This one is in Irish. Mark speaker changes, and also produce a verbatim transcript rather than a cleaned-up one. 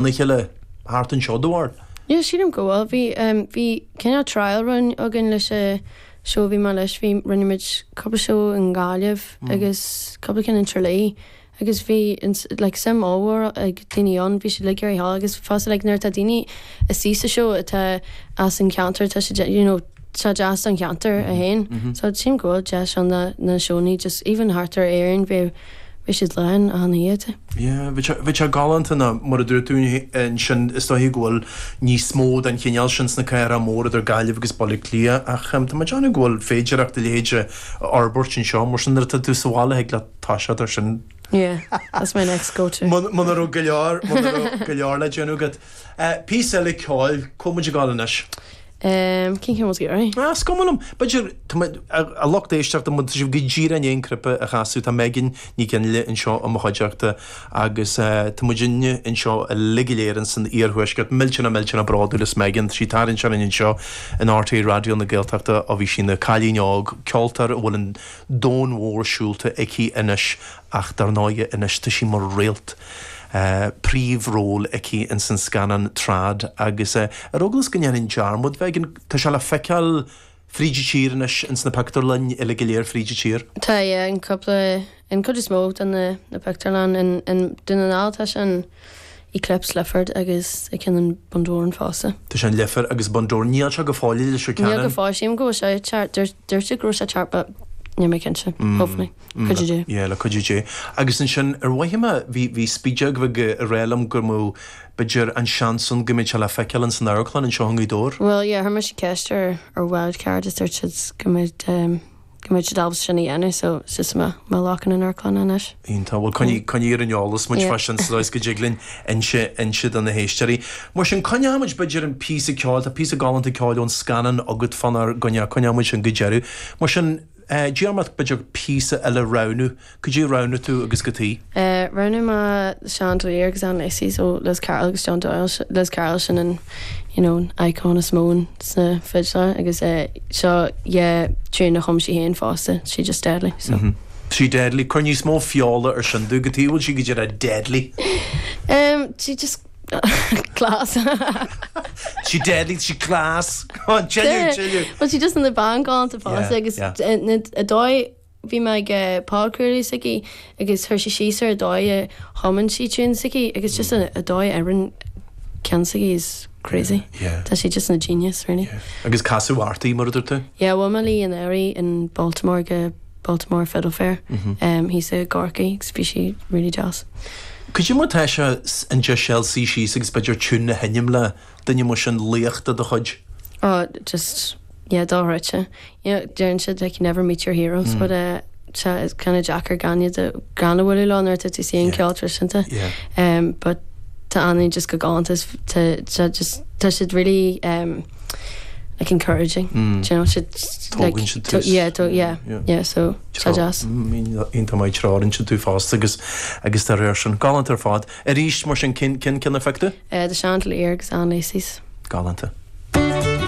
Speaker 1: a chéile thart anseo do bharr?
Speaker 2: Yeah, sílim go bhfuil. Bhí um, bhí cineál trial run againn leis an seó bhí mé leis bhí rinne muid cúpla seó in Gaillimh mm. agus cúpla ceann in Tralee agus bhí like suim mhór ag daoine ann bhí siad like ar agus fosta like nuair tá daoine istigh sa seó atá as an ceantar tá siad you know tá deas an ceantar a haon mm-hmm. so sílim go bhfuil deis an na na seónna just even thart ar Éirinn bhí bhí siad lán an iad.
Speaker 1: Yeah, bhí sé galánta na mar a dúirt tú ansin is dóigh go bhfuil níos mó den chineál sin sna cathracha móra idir Gaillimh agus Baile Átha Cliath ach um, tá mé ag déanamh go bhfuil féidireacht a leithéid a fhorbairt anseo mar sin nuair atá tú sa bhaile ag le tá siad ar sin.
Speaker 2: Yeah, that's my next go-to.
Speaker 1: Muna raibh go leor go leor le déanamh agat. Píosa eile ceoil cá bhfuil muid ag gabháil anois.
Speaker 2: Um, cén ceann ag iarraidh?
Speaker 1: Ah, is cuma liom. B'fhéidir a lucht éisteachta mu sibh go díreach in aon cnaipe a chasadh tá Megan Ní Fhionnghaile anseo i mo chuideachta agus tá muidinne anseo uilig go léir san iarthuaisceart millteanach millteanach bródúil as Megan sí tarraing anseo in RTÉ Raidió na Gaeltachta ó bhí sí ina cailín óg ceoltóir a bhfuil an domhan mhór siúlta aici anois ach dar ndóigh anois tá sí mar réalt. Uh, príomhról aici in san scannán Trad agus uh, ar eagla go ndéanfainn dearmad bheith tá sé le feiceáil fríd an tír anois ins na pictiúrlanna uile go léir fríd an tír.
Speaker 2: Tá an cúpla an chuid is mó den na, na pictiúrlann in, in Dún na nGall tá sin Eclipse Lifford agus i cinn an Bundoran fosta.
Speaker 1: Tá sin Lifford agus Bundoran níl sé go fóill leis
Speaker 2: Níl go fóill sílim go sé dúirt go sé teacht but níl mé cinnte hopefully. Cuidiú Dé.
Speaker 1: Yeah, le cuidiú Dé. Agus ansin ar mhaithe me bhí bhí spídeag bheith a rélam gur mó b'fhéidir an seans ann go mbeidh sé le feiceáil in san amharclann anseo i nGaoth Dobhair.
Speaker 2: Well yeah, chuir mise ceist ar ar Wildcard is dúirt siad go mbeidh um, go mbeidh siad ábalta sin a dhéanamh so just má má lochan an amharclann anois.
Speaker 1: Iontach bhfuil coinnigh coinnigh ar an eolas muid fá sin sa go dtig linn inse inse do na héisteoirí. Mar sin coinneoimid b'fhéidir an píosa ceoil tá píosa galánta ceoil ón scannán agat fanár gcoinne coinneoimid sin go deireadh. Mar sin Diarmaid b'fhéidir píosa eile roghnú, cad é roghnaigh tú agus cad chuige.
Speaker 2: Uh, Roghnaigh mé Chandelier agus Ann Lacey so Liz Carroll agus John Doyle Liz Carroll sin an you know, icon is mó sna fidle agus uh, seo yeah, tune a chum sí féin fosta she just deadly so.
Speaker 1: Mm -hmm. Sí deadly chuir níos mó feola ar sin dú go tí bhfuil sí go dtí deadly.
Speaker 2: Um, she just class.
Speaker 1: She deadly, she class. Chill
Speaker 2: Well she just in the band galánta fosta agus a dóigh bhí mé ag podchraoladh s'aici agus chuir sí síos ar a dóigh a chumann sí tune s'aici agus just a dóigh ar an ceann s'aici is crazy.
Speaker 1: Yeah.
Speaker 2: Tá sí just ina genius really.
Speaker 1: Yeah. Agus casadh uirthi mar a dúirt tú?
Speaker 2: Yeah, bhuail mé léi anuraidh in Baltimore go Baltimore Fiddle Fair. Mm -hmm. um, thíos i gCorcaigh agus bhí sí really deas.
Speaker 1: Cad é mar tá sé an deis suí síos agus b'fhéidir tune a sheinm le duine mar sin laoch de do chuid?
Speaker 2: Oh, just yeah, dochreidte. You know, deireann siad like you never meet your heroes, mm. but uh, it's kind of deacair gan iad gan a bhualadh leo nuair atá tú an ceol traidisiúnta. Um, but tá Annie just go galánta tá just tá siad really um, like encouraging. Mm. You know, siad like to, yeah, to, yeah, yeah, yeah, so tá deas.
Speaker 1: Iontach maith treoraíonn siad tú fosta agus agus tá réir sin galánta ar fad. Arís mar sin cén cén ceann a phioc tú?
Speaker 2: Uh, the Chandelier agus Ann Lacey's.
Speaker 1: Galánta.